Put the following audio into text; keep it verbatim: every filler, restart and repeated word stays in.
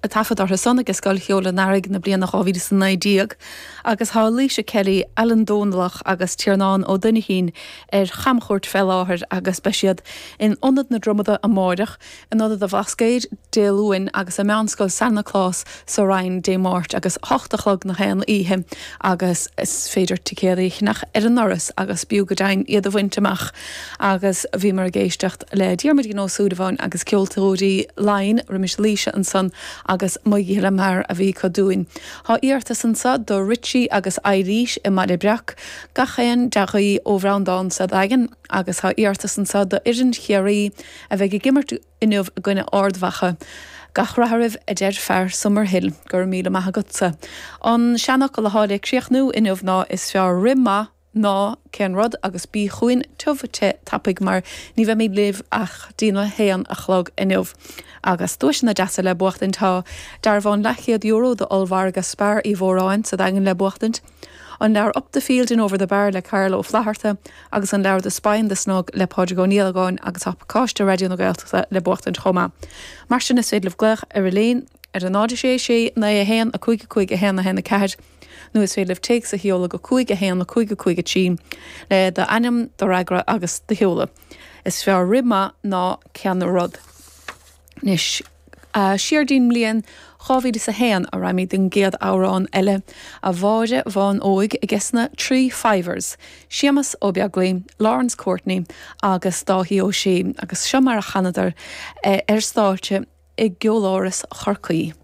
taifead orthu san ag Scoil Cheoil an Earraigh na bliana dhá mhíle is a naoi déag agus tá Laoise Kelly, Alan Dónallach agus Tiarnán Ó Duinnín ar chamchuairt fé láthair agus beidh siad in Ionad na Dromada amáireach, in Ionad an Bhlascaoid Dé Luain agus i Meánscoil San Nioclás sa Rinn Dé Máirt agus hocht a chlog nach aon oíche agus is féidir ticéadaí a cheannach ar an ndoras agus b'fhiú go deimhin iad a bhaint amach agus bhíomar ag éisteacht le Diarmuidín Ó Súilleabháin agus Ceoltóirí Laighean roimis Laoise ansan agus Mo Ghile Mear a bhí acu dúinn. Tá iarratas anso do Richie agus Eilís i mBaile Breac, gach aon dea-ghuí ó Bhreandán sa Daingean agus tá iarratas anso do fhoireann Chiarraí a bheidh ag imirt inniu i gcoinne Ard Mhacha. Gach rath oraibh a deir fear Summerhill. Go raibh míle maith agatsa. An seanfhocal atá le críochnú inniu ná is fearr rith maith ná cén rud agus bí chugainn tiubh te tapaidh mar ní bheimid libh ach dtína haon a chlog inniu. Agus duaiseanna deasa le buachtaint tá dearbhán leathchéad euro d'ollmhargadh Spar Uí Mhóráin sa Daingean le buachtaint, an leabhar Up the Field and Over the Bar le Karl Ó Flatharta agus an leabhar The Spy and the Snug le Pádraig Ó Niallagáin agus tá pacáiste Raidió na Gaeltachta le buachtaint chomh maith. Mar sin is féidir libh glaoch ar an líne ar a náid a sé sé naoi a haon a cúig a cúig a haon a haon a ceathair nó is féidir libh téacs a sheoladh go cúig a haon a cúig a cúig a trí le d'ainm, do fhreagra agus do sheoladh. Is fearr rith maith ná cén rud. Anois siar dtí'n mbliain dhá mhíle is a haon a raghaimid don gcéad amhrán eile, A Mháire Bhán Óig aige na Three Fivers, Séamus Ó Beaglaoi, Lawrence Courtney agus Dáithí Ó Sé agus seo mar a chanadar ar stáitse i gCeoláras Chorcaí.